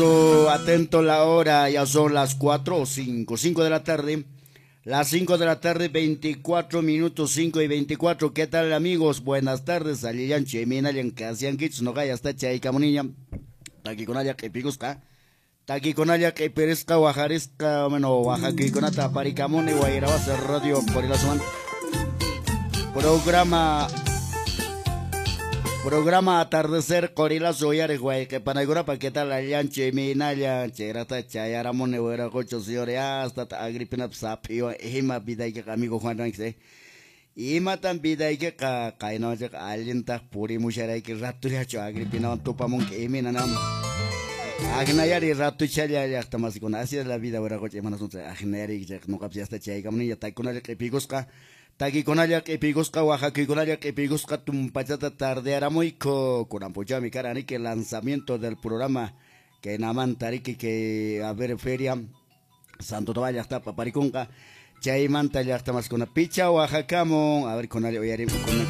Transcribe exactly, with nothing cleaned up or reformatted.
Atento la hora, ya son las cuatro o cinco, cinco de la tarde. Las cinco de la tarde, veinticuatro minutos, cinco y veinticuatro. ¿Qué tal, amigos? Buenas tardes. Allillanchu, imaynallan kasiankichis, noqa hasta chaykamuniña. Takikunalla q'ipikusqa. Takikunalla q'ipirisqa, wajarisqa, bueno, wajakuykunata aparikamuni, Wayrawasi Radio Qorilazuman. Programa Programa Atardecer Qorilazo uyariq wayqi-panaykunapa, ¿qué tal allanchu imaynallan? Chayrata chayaramuni wiraqocho, señores, hasta Agripinapas sap'iwan ima vidaykiqa, amigo Juan Ránquez, eh? Imatan vidaykiqa qaynawanchikqa allintaq purimusharayki ratullachu Agripinawan tupamunki imaynanam Agnayari ratuchalla llaqta masikuna, así es la vida wiraqocho, imanasunchik agnayari noqapas hasta chaykamuniña takikunalla q'ipikusqa takikunalla q'ipikusqa wajakuykunalla q'ipikusqa tumpachata tardearamuyku kunan p'unchawmi karan riki lanzamiento del programa que namanta riki que a ver feria Santo Tomás llaqtapa aparikunqa chaymanta llaqta masikuna picha wajakamun a ver kunalla uyarim kuna